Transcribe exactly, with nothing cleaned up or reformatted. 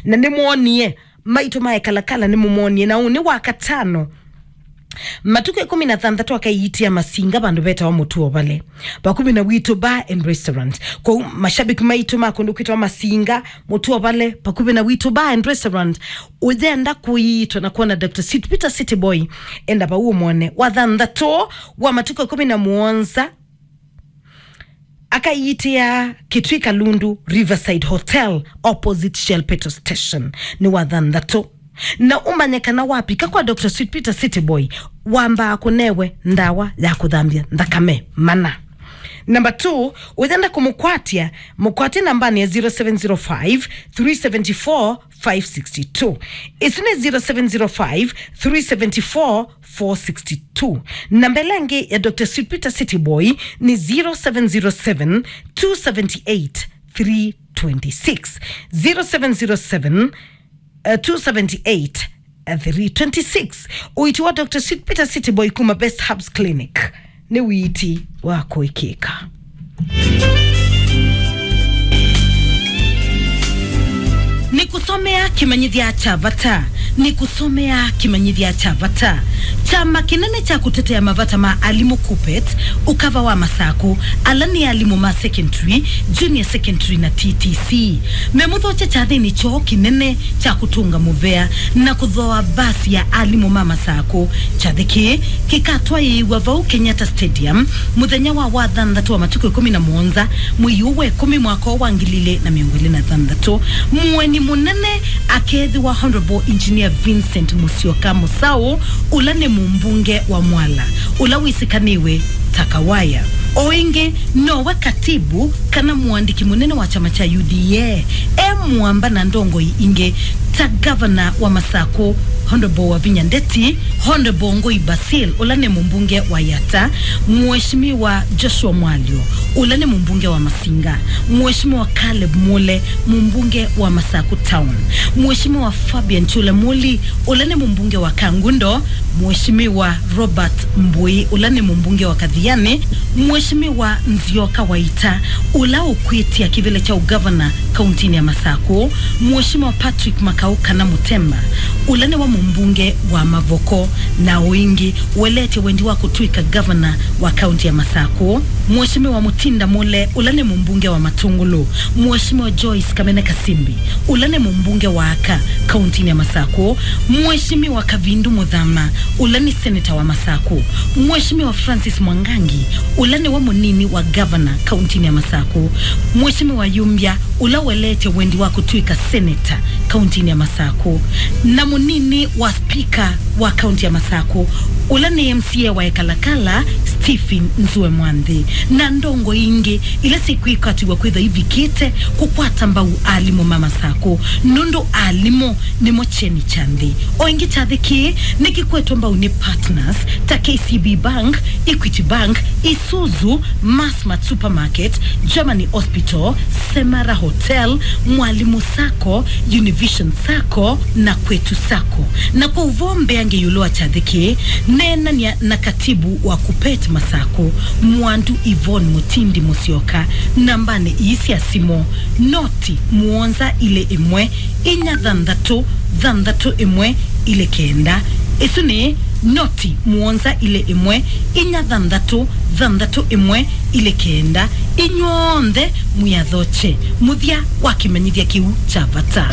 Na nĩmwonie, maitũ ma Ekalakala nĩmũmonie, na ũnĩ wa katano. Matukũ ĩkũmi na thanthatũ akaiitĩa Masinga vandũ vetawa Mũtuovale, vakuvĩ na Witũ Bar and Restaurant. Kwoou mashabiki maitũ ma kũndũ kwĩtawa Masinga, Mũtuovale, vakuvĩ na Witũ Bar and Restaurant, ũyenda kũiitwa na kwona Doctor Sweet Peter City Boy, enda vau ũmwone. Wa thanthatũ wa matukũ ĩkũmi na mũonza, akaiitĩa Kitui Kalundu Riverside Hotel, opposite Shell Petrol Station. Nĩ wa thanthatũ. Na ũmanye kana wapika kwa Doctor Sweet Peter City Boy, wambaa kũnewe ndawa ya kũthambya nthakame mana. Number two, ũyenda kũmũkwatya, mũkwatye nambanĩ ya zero seven zero five, three seven four, five sixty two. Ĩsu nĩ zero seven zero five, three seven four, four sixty two. Namba ĩla ĩngĩ ya Doctor Sweet Peter City Boy nĩ zero seven zero seven, two seven eight, three twenty six. Zero seven zero seven, uh, two seven eight, uh, three twenty six. Ũiiti wa Doctor Sweet Peter City Boy kuma Best Herbs Clinic nĩ ũiiti wa kũĩkĩĩka. Nĩkũsomea kĩmanyĩthya kya vata. Nĩkũsomea kĩmanyĩthya kya vata. Kyama kĩnene kya kũtetea mavata ma alimũ KUPPET, ũkava wa Masakũ, ala nĩ alimũ ma secondary, junior secondary na T T C, memũthokya kyathĩnĩ kyoo kĩnene kya kũtũnga mũvea na kũthooa mbasi ya alimũ ma Masakũ. Kyathĩ kĩĩ kĩkatwaĩĩw'a vau Kenyatta Stadium mũthenya wa wathanthatũ wa matukũ ĩkũmi na mũonza, mwei ũũ wa ĩkũmi, mwaka ũũ wa ngili ilĩ na mĩongo ĩlĩ na thanthatũ. Mũeni mũnene akeethĩwa Honorable Engineer Vincent Musyoka Musaũ, ũla nĩ mũmbunge wa Mwala, ũla wĩsĩkanĩwe ta Kawaya. O ĩngĩ, nowe katibu kana mũandĩki mũnene wa kyama kya U D A, e mũamba na ndongoi ingĩ ta gavana wa Masakũ, Honorable Wavinya Ndeti, Honorable Ngũi Basil, ũla nĩ mũmbunge wa Yatta, Mheshimiwa Joshua Mwalyo, ũla nĩ mũmbunge wa Masinga, Mheshimiwa Caleb Mule, mũmbunge wa Masakũ Town, Mheshimiwa Fabian Chule Muli, ũla nĩ mũmbunge wa Kangundo, Mheshimiwa Robert Mbui, ũla nĩ mũmbunge wa Kathiani, Mheshimiwa Nzioka Waita, ũla ũkwĩtya kĩvĩla kya ũgavana kauntinĩ ya Masakũ, Mheshimiwa Patrick Makau kana Mũtemba, ũla nĩwe mũmbunge wa Mavoko, na o ĩngĩ ũeleetye wendi wa kũtw'ĩka gavana wa kaunti ya Masakũ, Mheshimiwa Mutinda Mule, ũla nĩ mũmbunge wa Matungulu, Mheshimiwa Joyce Kamene Kasimbi, ũla nĩ mũmbunge wa aka kauntinĩ ya Masakũ, Mheshimiwa Kavindu Muthama, ũla nĩ seneta wa Masakũ, Mheshimiwa Francis Mwangangi, ũla nĩwe mũnini wa gavana kauntinĩ ya Masakũ, Mheshimiwa Yumbya, ũla ũeleetye wendi wa kũtw'ĩka seneta kauntinĩ ya Masakũ, na mũnini wa spika wa kaunti ya Masakũ, ũla nĩ M C A wa Ekalakala, Stephen Nzue Mwanthi, na ndongoi ingĩ ila sikwĩkatiwa kwĩthwa ivikĩte kũkwata mbau alimũ ma Masakũ, nũndũ alimũ nĩmo kyeni kya nthĩ. O ĩngĩ, kyathĩ kĩĩ nĩkĩkwetwe mbau nĩ partners ta K C B Bank, Equity Bank, Isuzu, Massmart Supermarket, Germany Hospital, Semara Hotel, Mwalimu Sacco, Univision Sacco na Kwetu Sacco. Na kwa ũvoo mbeange ĩũlũ wa kyathĩ kĩĩ, neenany'a na katibu wa KUPPET Masakũ, Mwandu Yvonne Mutindi Musyoka, nambanĩ ii sya simũ, noti mũonza ilĩ ĩmwe, inya thanthatũ thanthatũ ĩmwe ilĩ kenda. Ĩsu nĩ noti mũonza ilĩ ĩmwe, inya thanthatũ thanthatũ ĩmwe ilĩ kenda. Inyw'onthe mwĩathokye mũthya wa kĩmanyĩthya kĩu kya vata.